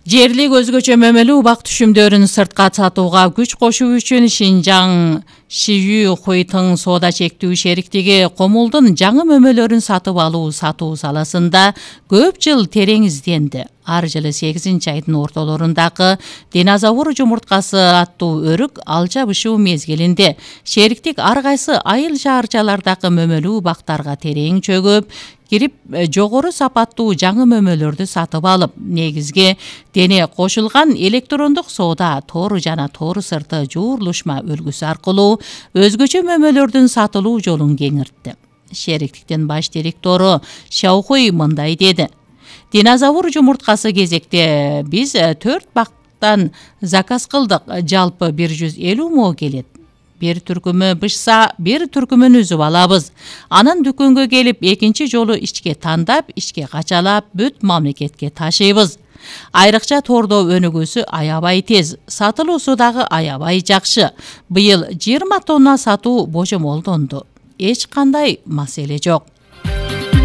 Жерлик өзгөчө мөмөлүү убак түшүмдөрүн сыртка сатууга күч кошуу үчүн Шинжаң Шиюй Хуйтың соода чектүү шериктиги комулдун жаңы мөмөлөрүн сатып алуу сатуу саласында көп жыл терең изденди. Ар жылы 8-айдын ортолорундагы динозавр жумурткасы аттуу өрүк ал жабышуу мезгилинде шериктик ар кайсы айыл шаарчалардагы мөмөлүү убактарга терең чөгүп кирип жогору сапаттуу жаңы мөмөлөрдү сатып алып, негизги дене кошулган электрондук соода тору жана тору сырты жуурлушма үлгүсү аркылуу өзгөчө мөмөлөрдүн сатылуу жолун кеңиртти. Шериктиктин баш директору Шаохуй мындай деди: Динозавр жумурткасы кезекте биз 4 бактан заказ кылдык. Жалпы 150 мо келет. Бир түркүмү бышса, бир түркүмүн үзүп алабыз. Анан дүкөнгө келип, экинчи жолу ичке тандап, ичке качалап, бүт мамлекетке ташыйбыз. Айрыкча тордо өнүгүүсү аябай тез, сатылуусу дагы аябай жакшы. Быйыл 20 тонна сатуу божомолдонду. Эч кандай маселе жок.